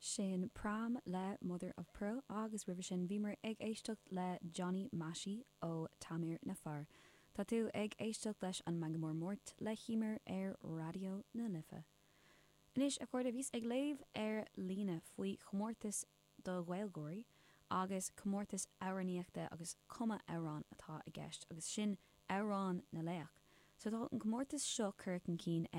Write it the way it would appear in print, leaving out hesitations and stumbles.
Sin Pram le Mother of Pearl agus roimhe sin bhíomar ag éisteacht le Johnny Mashie ó Tamir Nafar. Tá tú ag éisteacht leis an Meangadh Mór Máirt le hEmer ar Raidió na Life. Anois, a chairde, bhíos ag léamh ar líne faoi chomórtas do Ghaeilgeoirí agus comórtas amhránaíochta agus cumadh amhrán atá i gceist agus sin Amhrán na Laoch. So tá an comórtas seo curtha chun cinn ag.